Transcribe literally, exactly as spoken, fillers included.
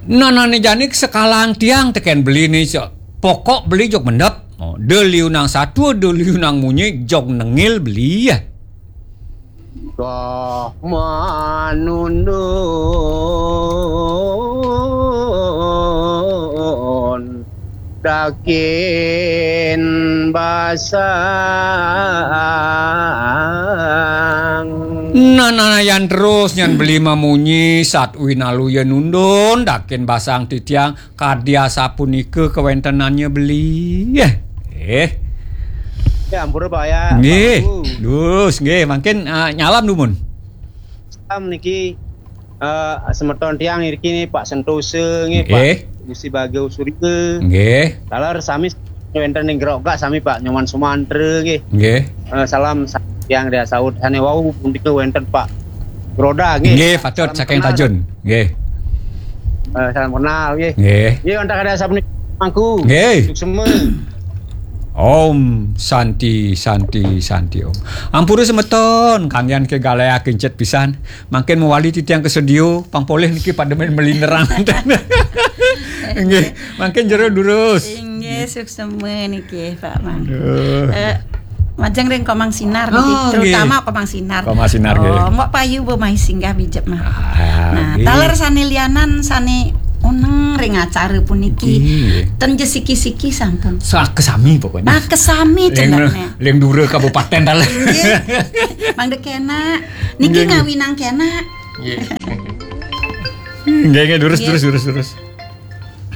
Nah, nah, nih jani sekalang tiang tekén beli nih, so. Pokok beli jog mendep. Oh, da liunang satua, da liunang munyi, jog nengil beli, ya. Kah manundun dakin basang. Nah, nah, nah, yan terus, nyan beli mamunyi, sat winaluya nundun, dakin basang titiang, kadi asapunika kawéntenannya beli. Eh. Eh. Ya, ampura, Pak, ya. Nggih. Pak Abu. Dus, nggih, mangkin, ah, nyalam dumun. Salam niki, eh, semeton tiang niki nih, Pak Sentosa nggih, Pak Nggih. Gusti Bagio Surya. Nggih. Taler sami wénten ing Grogak sami, Pak Nyoman Sumantra nggih. Nggih. Eh, salam sa-, tiang dia saut sané wau punika wénten Pak Roda nggih. Nggih, patut saking Tajun. Nggih. Eh, salam kenal nggih. Nggih. Nggih, wonten kada sapunika mangku. Nggih. Suksema. Om Santi, Santi, Santi, Om. Ampura semeton, kanggian ké galaya kincit pisan. Mangkin mawali titiang ka studio, pang polih niki pada main melinderang. Nggih, mangkin jero durus. Inggih, suksema niki, Pak Man. Aduh. Eh, majeng ring Komang Sinar niki, oh, terutama nggih. Komang Sinar. Komang Sinar, nggih. Oh, Mbok Payu bo mai singgah bijep mah. Ah, nah, nggih. Taler sané lianan sané uneng ring acara puniki. Nggih. Ten ja siki-siki sampun. Sa-, kesami pokoknya. Ah, kesami cendernya. Ling dura kabupaten taler. Nggih. Mangda kénak. Niki nggih, nggih. Ngawinang kénak. Nggih. Nggih, nggih, durus, nggih. Durus, durus, durus.